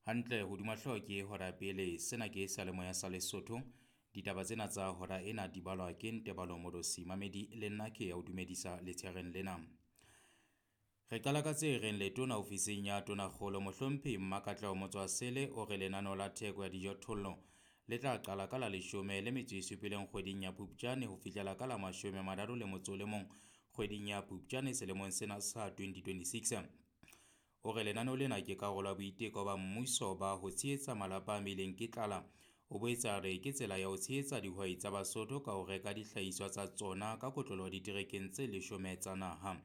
Hantle hodima hlooho ke hora pele. Sena ke seyalemoya sa Lesotho. Ditaba tsena tsa hora ena di balwa ke Ntebalo Modosi Mamedi le nna ke ya o dumedisa letshehareng lena. Re qala ka tse reng letona ofising ya Tonakgolo Mohlomphehi Mmakatleho Motswasele o re lenaneo la theko ya dijothollo le tla qala ka la 17 kgweding ya Phupjane ho fihlela ka la 31 kgweding ya Phupjane selemong sena sa 2026. O re lenaneo lena ke karolo ya boiteko ba mmuso ba ho tshehetsa malapa a amehileng ke tlala. O boetse a re ke tsela ya ho tshehetsa dihwai tsa Basotho ka ho reka dihlahiswa tsa tsona ka kotloloho diterekeng tse 10 tsa naha.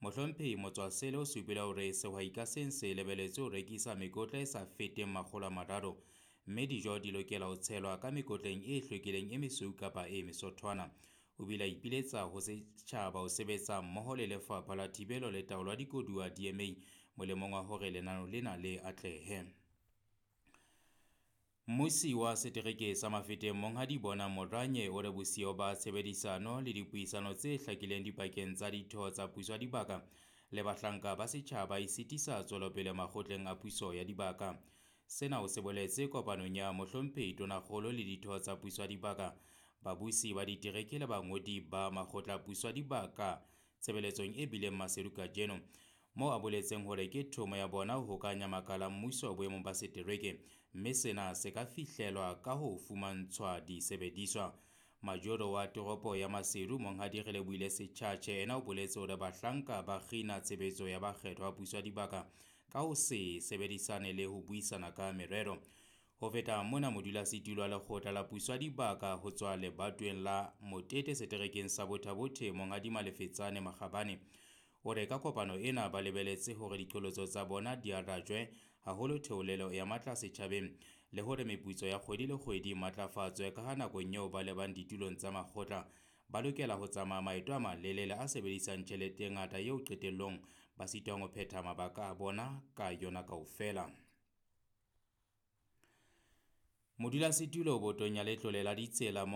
Mohlomphehi Motswasele o supile hore sehwai ka seng se lebeletswe ho rekisa mekotla e sa feteng 300, mme dijo di lokela ho tshelwa ka mekotleng e hlwekileng e mesweu kapa e mesothwana. O bile a ipiletsa ho setjhaba ho sebetsa mmoho le Lefapha la Thibelo le Taolo ya Dikoduwa DMA molemong wa hore lenaneo lena le atlehe. Mmusi wa setereke sa Mafeteng Monghadi Bonang Moranye o re bosiyo ba tshebedisano le dipuisano tse hlakileng dipakeng tsa ditho tsa puso ya dibaka le bahlanka ba setjhaba e sitisa tswelopele makgotleng a puso ya dibaka. Sena o se boletse kopanong ya Mohlomphehi Tonakgolo le ditho tsa puso ya dibaka, babusi ba ditereke le bangodi ba makgotla a puso ya dibaka tshebeletsong e bileng Maseru kajeno, moo a boletseng hore ke thomo ya bona ho hokahanya makala a mmuso boemong ba setereke, mme sena se ka fihlelwa ka ho fumantshwa disebediswa. Majoro wa toropo ya Maseru Monghadi Relebohile Sechache ena o boletse hore bahlanka ba kgina tshebetso ya bakgethwa ba puso ya dibaka ka ho se sebedisane le ho buisana ka merero. Ho feta mona, modulasetulo wa lekgotla la puso ya dibaka ho tswa lebatoweng la Motete seterekeng sa Botha-Bothe Monghadi Malefetsane Makgabane o re ka kopano ena ba lebeletse hore diqholotso tsa bona di arajwe, haholo theolelo ya matla setjhabeng le hore meputso ya kgwedi le kgwedi e matlafatswe ka ha nakong eo ba lebang ditulong tsa makgotla ba lokela ho tsamaya maeto a malelele a sebedisang tjhelete e ngata eo qetellong ba sitwang ho phetha mabaka a bona ka yona kaofela. Modulasetulo botong ya letlole la ditsela.